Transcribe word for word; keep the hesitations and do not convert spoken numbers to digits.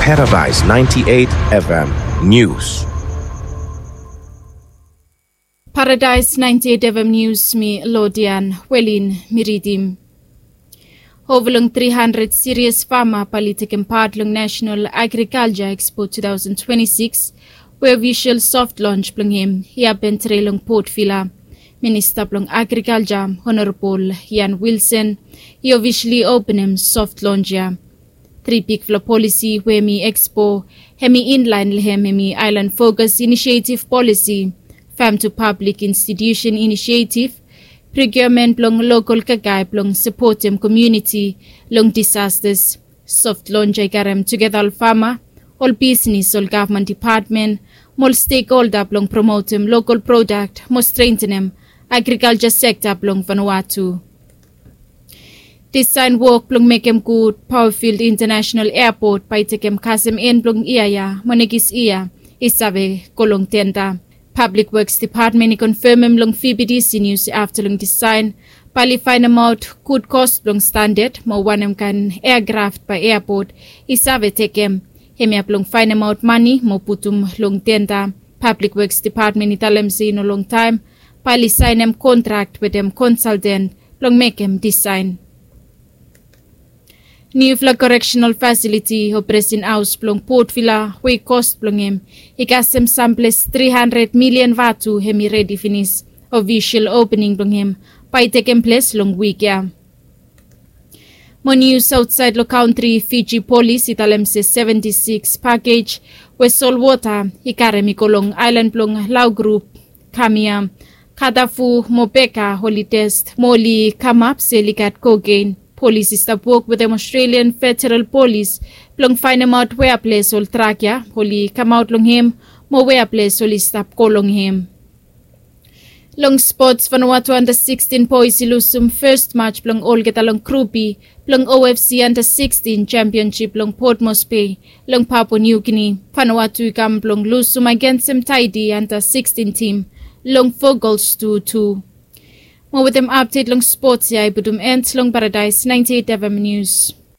Paradise ninety-eight F M News. Paradise ninety-eight F M News, mi Lodian Welin mi ridim. Ova long tri handred sirias fama bae oli tekem pat long National Agriculture Expo two thousand twenty-six, we ofisol soft launch blong hem i hapen tede long Port Vila. Minista blong Agriculture, Honorable Ian Wilson, i ofisali openem soft launch ya. Tri bigfala polisi we hem i ekspo, hem i inlaen long hem hem i Island Focus Initiative Policy, Farm to Public Institution Initiative, procurement blong lokol kakae blong sapotem komuniti long disasters. Soft launch ya i karem tugeta ol fama, ol bisnis, ol gavman dipatmen, mo ol stekholda blong promotem lokol prodak mo strengtenem agrikalja sekta blong Vanuatu. Disaen wok blong mekem gud Powerfield International Airport bae i tekem kasem en blong yia ya mo nekis yia i save go long tenda. Public Works Department i konfemem long V B D C News afta long disaen bae oli faenemaot gud kos blong standad mo wanem kaen eakraft bae airport i save tekem. Hemia blong faenemaot mane mo putum long tenda. Public Works Department i talem se i no longtaem bae oli saenem kontrak wetem konsalten blong mekem disaen. Niufala koreksenal fasiliti o Presen Haos blong Port Vila we kos blong hem i kasem samples tri handred milian vatu hem i redi finis. Ofisol opening blong hem bae i tekem ples long wik ya. Mo nius aotsaed long kantri, Fiji Polis i talem se seventi sikis pakej we solwota i karem i go long aelan blong Lau Grup, Kamia, Katafu mo Beka oli test mo oli kamap se oli gat kokein. Polis i stap wok wetem Australian Federal Polis blong faenemaot wea ples ol drak ya oli kamaot long hem mo wea ples oli stap go long hem. Long spots, Vanuatu anda sikstin boes i lusum fes maj blong olgeta long Grup B blong O F C anda sikstin Championship long Port Moresby long Papua New Guinea. Vanuatu i kam blong lusum agensem Tahiti anda sikstin tim long fo gols tu tu. Mo wetem apdet long spots ya i putum en long Paradise ninety eight F M News.